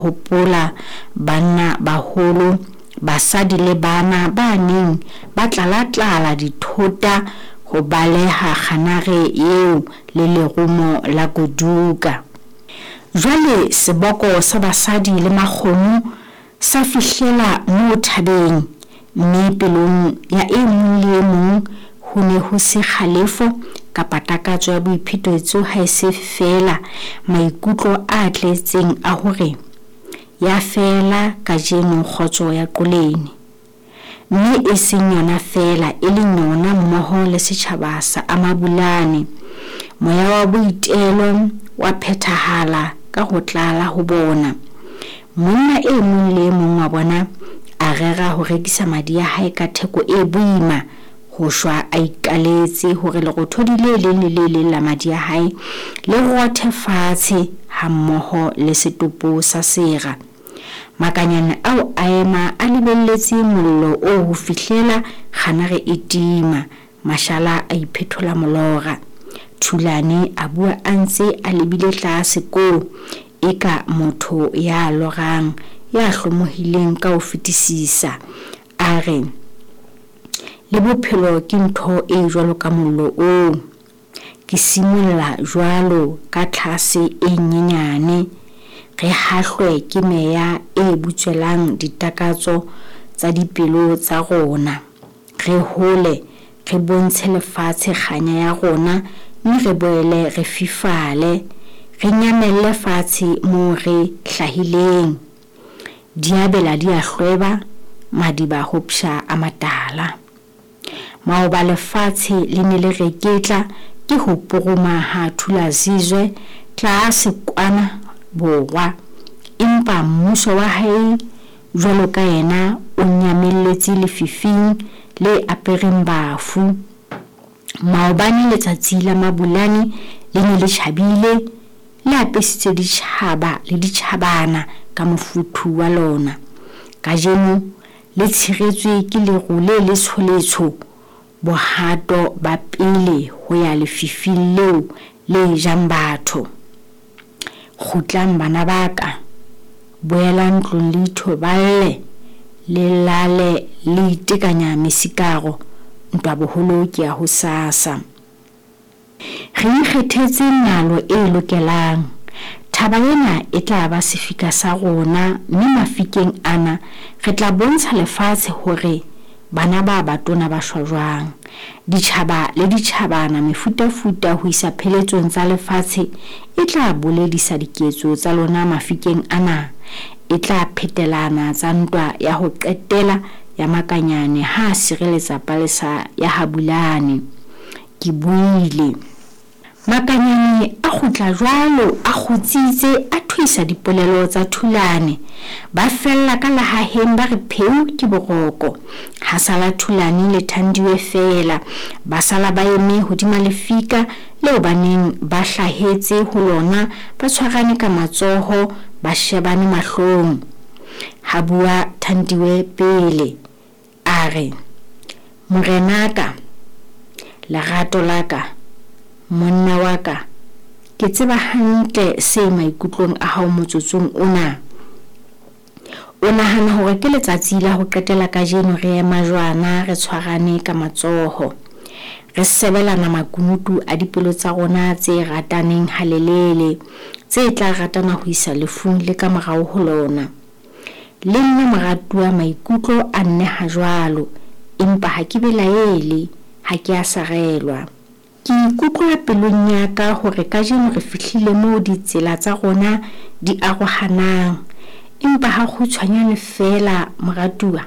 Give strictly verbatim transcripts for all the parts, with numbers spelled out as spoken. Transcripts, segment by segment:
Hopola banna baholo, basadi le bana ba neng ba tlala-tlala dithota ho baleha kganare eo le lerumo la Goduka. Jwale seboko sa basadi le makgomo sa fihlela moo thabeng, mme pelong ya e mong le e mong ho ne ho se kgalefo kapa takatso ya boiphetetso haese feela maikutlo a tletseng a hore ya fela kajeno kgotso ya Qoleni. Mme e seng yona feela, e leng yona mmoho le setjhaba sa Amabulane. Moya wa boitelo wa phethahala ka ho tlala ho bona. Monna e mong le e mong wa bona a rera ho rekisa madi a hae ka theko e boima, ho shwa a ikaletse hore lerothodi le leng le le leng la madi a hae le rothe fatshe hammoho le setopo sa sera. Makanyane ao a ema a lebelletse mollo oo ho fihlela kganare e tima, mashala a iphethola molora. Thulane a bua a ntse a lebile tlase koo, eka motho ya lorang, ya hlomohileng ka ho fetisisa. A re, le bophelo ke ntho e jwalo ka mollo oo. Ke simolla jwalo ka tlhase e nyenyane, re hahlwe ke meya e butswelang ditakatso tsa dipelo tsa rona. Re hole, re bontshe lefatshe kganya ya rona, mme re boele re fifale, re nyamelle fatshe moo re hlahileng. Diabela di a hlweba, madiba ho psha a matala. Maoba lefatshe le ne le reketla ke ho puruma ha Thulazizwe tlase kwana borwa, empa mmuso wa hae jwalo ka yena o nyamelletse lefifing le apereng bafu. Maobane letsatsi la Mabulane le ne le tjhabile, le apesitse ditjhaba le ditjhabana ka mofuthu wa lona. Kajeno le tshiretswe ke leru le letsholetsho, bohato ba pele ho ya lefifing leo le jang batho. Kgutlang bana ba ka, boelang ntlong le ithoballe, le lale le itekanya mesikaro, ntwa boholo ke ya hosasa. Re ikgethetse nalo e lokelang. Thaba ena e tla ba sefika sa rona, mme mafikeng ana re tla bontsha lefatshe hore bana ba batona ba shwa jwang. Ditjhaba le ditjhabana mefutafuta ho isa pheletsong tsa lefatshe e tla boledisa diketso tsa lona mafikeng ana. E tla phetelana tsa ntwa ya ho qetela ya Makanyane ha a sireletsa palesa ya Habulane. Ke buile. Makanyane a kgutla jwalo a kgutsitse, a thuisa dipolelo tsa Thulane. Ba fella ka lehaheng ba re pheu ke boroko. Ha sala Thulane le Thandiwe feela, ba sala ba eme hodima lefika leo ba neng ba hlahetse ho lona, ba tshwarane ka matsoho, ba shebane mahlong. Ha bua Thandiwe pele, a re, Morenaka, lerato la ka, monna wa ka, ke tseba hantle se maikutlong a hao motsotsong ona. O nahana hore ke letsatsi la ho qetela kajeno re ema jwana re tshwarane ka matsoho, re sebelana makunutu a dipelo tsa rona tse rataneng halelele, tse tla ratana ho isa lefung le ka morao ho lona. Le nna moratuwa maikutlo a nneha jwalo, empa ha ke belaele, ha ke a sarelwa. Ke ikutlwa pelong ya ka hore kajeno re fihlile moo ditsela tsa rona di arohanang, empa ha kgutshwanyane feela moratuwa,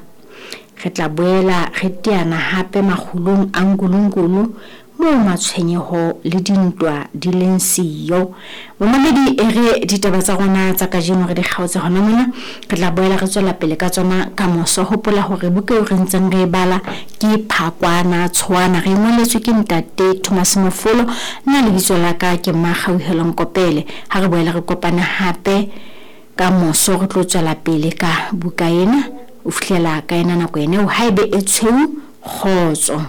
re tla boela re teana hape makgulong a Nkulunkulu moo matshwenyeho le dintwa di leng siyo. Momamedi, e re ditaba tsa rona tsa kajeno re di kgaotse hona mona, re tla boela re tswela pele ka tsona ka moso. Hopola hore buka eo re ntseng re e bala ke Phakwana Tshoana, re ngoletswe ke ntate Thomas Mofolo. Nna lebitso la ka ke Mmakgauhelo Nkopele. Ha re boela re kopane hape ka moso, re tlo tswela pele ka buka ena ho fihlela ka ena nako ena eo haebe e tshweu. Kgotso.